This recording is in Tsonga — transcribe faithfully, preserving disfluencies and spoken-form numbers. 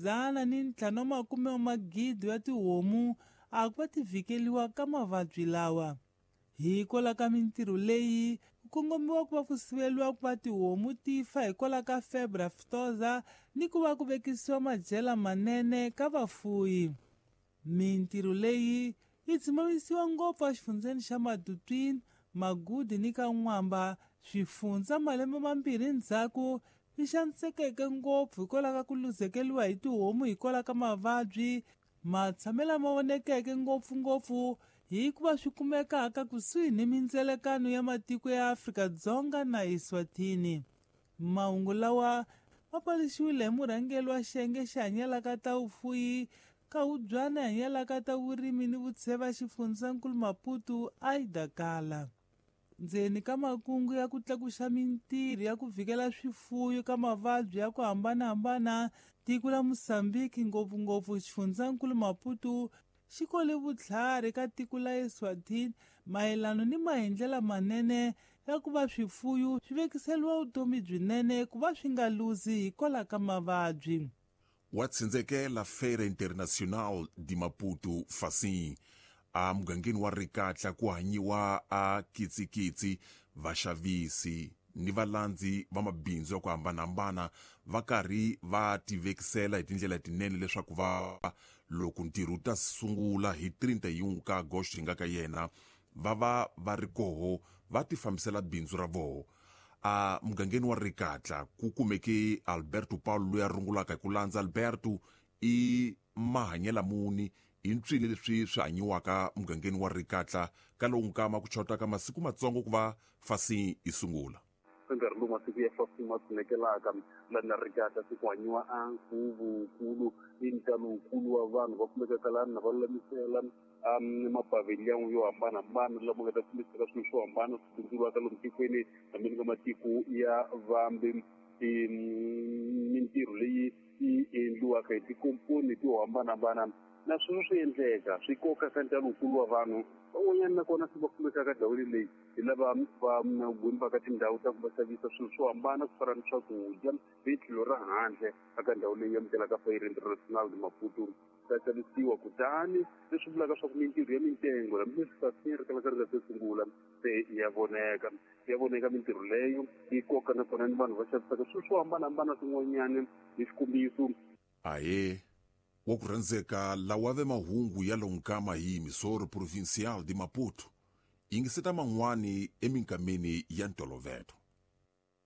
dzana ni ntlhanu wa makume wa magidi ya tihomu a ku va ti vhikeliwa ka mavabyi lawa. Hikwalaho ka mintirho leyi ku kongomiwa ku va ku siveliwa ku va tihomu ti fa hikwalaho ka febre aftosa ni ku va ku vekisiwa madyela manene ka vafuyi. Mintirho leyi yi dzimamisiwa ngopfu exifundzeni xa Matutuine, Magudi ni ka N'wamba, swifundza malembe mambirhi ndzhaku swi xanisekeke ngopfu hikwalaho ka ku luzekeriwa hi tihomu hikwalaho ka mavabyi matshamelo lama vonekeke ngopfungopfu hikuva swi kumekaka kusuhi ni mindzelekano ya matiko ya Afrika-Dzonga na Eswatini. Mahungu lawa ma paluxiwile hi murhangeri wa xiyenge xi hanyelaka ta vufuyi ka Hubyana hanyelaka ta vurimi ni vutsheva xifundzankulu Maputo Aida Kala. Ndzeni ka makungu ya ku tlakusa mintirho ya ku vhikela swifuyo ka mavabyi ya ku hambanahambana, tiko la Mozambique ngopfungopfu xifundzankulu Maputo xi kole vutlhari ka tiko la Eswatini mayelana ni maendlelo manene ya ku va swifuyo swi vekiseliwa vutomi byinene ku va swi nga luzi hikwalaho ka mavabyi. Wa tsindzekela Feira Internacional de Maputo Facim a mugangeni wa Rikatla ku hanyiwa a kitsikitsi vaxavisi ni valandzi va mabindzu ya ku hambanahambana va karhi va tivekisela hi tindlela tinene leswaku va loko ntirho wu ta sungula hi trinta e um ka agosto hi nga ka yena va va va ri koho va tifambisela bindzu ra voho. A mugangeni wa Rikatla ku kumeke Alberto Paulo loyi a rungulaka hi ku landza. Alberto i mahanyela muni i ntswile leswi swi hanyiwaka mugangeni wa Rikatla ka lowu nkama ku chotaka masiku matsongo ku va Facim yi sungula? Nkarhi lowu masiku ya Facim ma tshunekelaka lani na Rikatla se ku hanyiwa a nkhuvunkulu i ntalowukulu wa vanhu va kumekaka lani na va lulamisela mapavhiliyani yo hambanahambana lama nga ta fambisaka swilo swo hambana swi bindzuriwaka lomu tikweni hambi ni ka matiko ya vambe. Mintirho leyi yi endliwaka hi tikomponi to hambanahambana na swona swi endleka swi koka ka ntalowukulu wa vanhu van'wanyana nakona se va kumekaka ndhawini leyi hi lava va gwimbaka tindhawu ta ku va xavisa swilo swo hambana ku fana ni swakudya hi tlhelo ra handle eka ndhawu leyi amukelaka Feira Internacional de Maputo ta xavisiwa. Kutani leswi vulaka swa ku mintirho ya mintengo hambileswi Facim ri kalaka ri nga se sungula se ya voneka ya voneka mintirho leyo yi koka nakona ni vanhu va xavisaka swilo swo hambanahambana swin'wanyana hi xikombiso. Ahe wa ku rhandzeka lawa ve mahungu ya lonkama hi Emissora Provincial de Maputo yingiseta man'wani eminkameni ya ntolovelo.